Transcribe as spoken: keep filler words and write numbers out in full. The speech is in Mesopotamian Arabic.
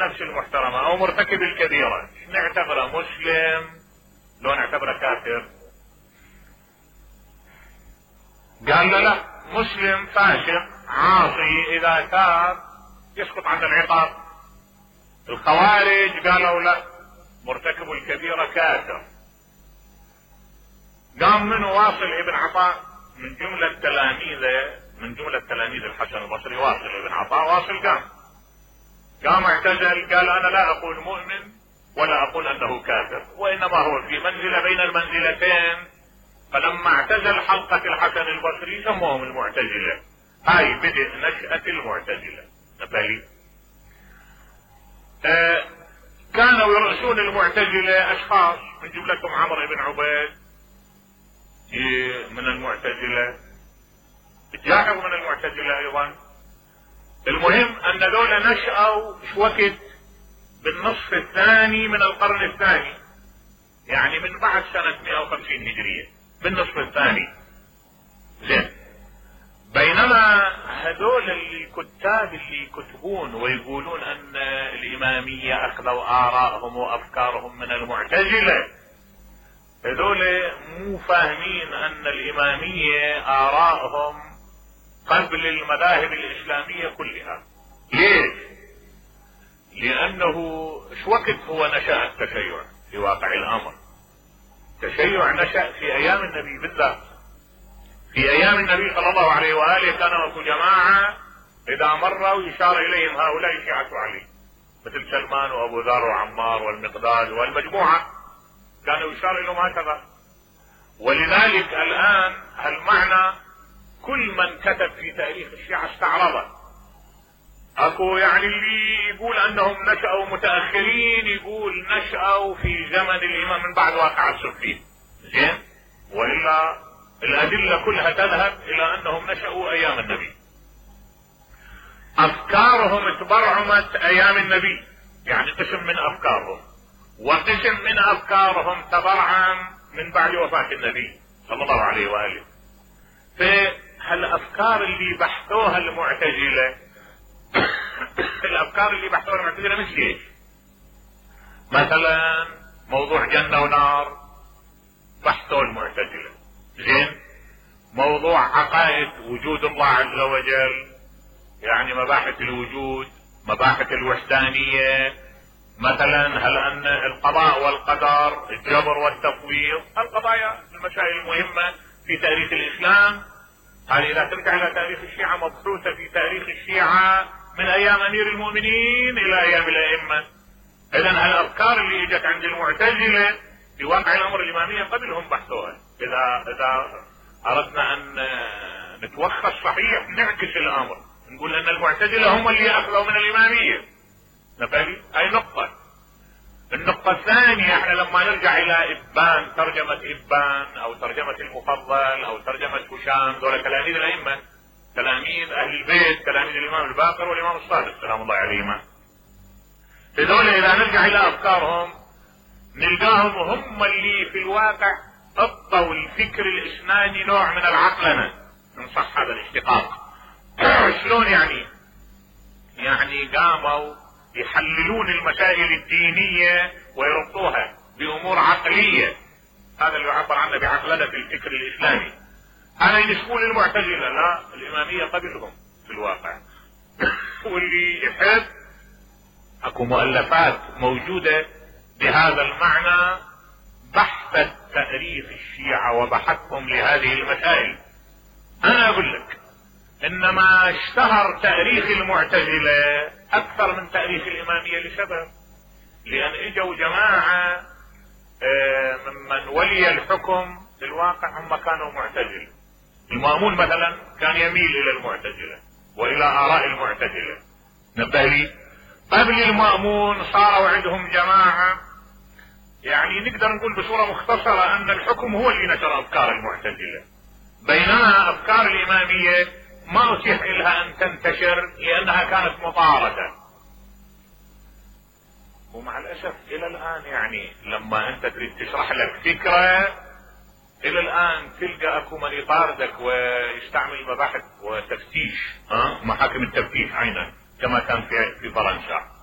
نفس المحترمة او مرتكب الكبيرة نعتبره مسلم لو نعتبره كافر؟ قال له لا، مسلم فاسق عاصي اذا تاب يسقط عن العقاب. الخوارج قالوا لا، مرتكب الكبيرة كافر. قام منه واصل ابن عطاء من جملة تلاميذه، من جملة تلاميذ الحسن البصري، واصل ابن عطاء، واصل قام قام اعتزل، قال انا لا اقول مؤمن ولا اقول انه كافر، وانما هو في منزلة بين المنزلتين. فلما اعتزل حلقة الحسن البصري سموهم المعتزلة. هاي بدء نشأة المعتزلة. نبالي آه كانوا يرأسون المعتزلة اشخاص من جملتهم عمرو بن عبيد من المعتزلة، جاحظ من المعتزلة ايضا. المهم ان دول نشأوا شو وقت بالنصف الثاني من القرن الثاني، يعني من بعد سنة مئة وخمسين هجرية، بالنصف الثاني. زين، بينما هذول الكتاب اللي يكتبون ويقولون ان الامامية اخذوا ارائهم وافكارهم من المعتزلة، هذول مو فاهمين ان الامامية ارائهم قبل المذاهب الاسلامية كلها. ليش؟ لانه شو وقت هو نشأ التشيع في واقع الامر؟ التشيع نشأ في ايام النبي بالذات. في ايام النبي صلى الله عليه وآله كانوا اكو جماعة اذا مروا يشار اليهم هؤلاء شيعة علي، مثل سلمان وابو ذر وعمار والمقداد والمجموعة، كانوا يشار اليهم هكذا. ولذلك الان هالمعنى كل من كتب في تاريخ الشيعة استعرضه. اكو يعني اللي يقول انهم نشأوا متأخرين، يقول نشأوا في زمن الامام من بعد واقعة الصفين. زين، والا الادلة كلها تذهب الى انهم نشأوا ايام النبي. افكارهم تبرعمت ايام النبي، يعني قسم من افكارهم، وقسم من افكارهم تبرعم من بعد وفاة النبي صلى الله عليه وآله. فهالافكار اللي بحثوها المعتزلة الافكار اللي بحثوها المعتزلة مثل ايش؟ مثلا موضوع جنة ونار بحثوا المعتزلة. زين، موضوع عقائد وجود الله عز وجل، يعني مباحث الوجود، مباحث الوحدانية، مثلا هل ان القضاء والقدر، الجبر والتفويض، القضايا المسائل المهمة في تاريخ الاسلام. هذه اذا ترجع الى تاريخ الشيعة مبحوثة في تاريخ الشيعة من ايام امير المؤمنين الى ايام الائمة. اذا هالافكار اللي اجت عند المعتزلة في واقع الامر الامامية قبلهم بحثوها. اذا اذا اردنا ان نتوخى الصحيح نعكس الامر، نقول ان المعتزلة هم اللي اخذوا من الامامية. نفهم هاي نقطة. النقطة الثانية، احنا لما نرجع الى ابان، ترجمة ابان او ترجمة المفضل او ترجمة هشام، دول تلاميذ الائمة، تلاميذ اهل البيت، تلاميذ الامام الباقر والامام الصادق سلام الله عليهما. هذول اذا نرجع الى افكارهم نلقاهم هم اللي في الواقع اضطوا الفكر الاسناني نوع من العقلنة، ان صح هذا الاشتقاق. شلون يعني؟ يعني قاموا يحللون المسائل الدينية ويربطوها بامور عقلية، هذا اللي يعبر عنه بعقلنة الفكر الاسلامي. هذا ينسبون للمعتزلة، لا، الامامية قبلهم في الواقع. واللي يحب اكو مؤلفات موجودة بهذا المعنى بحثت تاريخ الشيعة وبحثهم لهذه المسائل. انا اقول لك انما اشتهر تاريخ المعتزلة اكثر من تاريخ الامامية لسبب، لان اجوا جماعة ممن ولي الحكم في الواقع هم كانوا معتزلة. المأمون مثلا كان يميل الى المعتزلة والى اراء المعتزلة. نبه لي، قبل المأمون صاروا عندهم جماعة، يعني نقدر نقول بصورة مختصرة ان الحكم هو اللي نشر افكار المعتزلة، بينما افكار الامامية ما اتيح لها ان تنتشر لانها كانت مطاردة. ومع الاسف الى الان يعني لما انت تريد تشرح لك فكرة الى الان تلقى اكو من يطاردك ويستعمل مباحث وتفتيش، ها، محاكم التفتيش عينا كما كان في في فرنسا.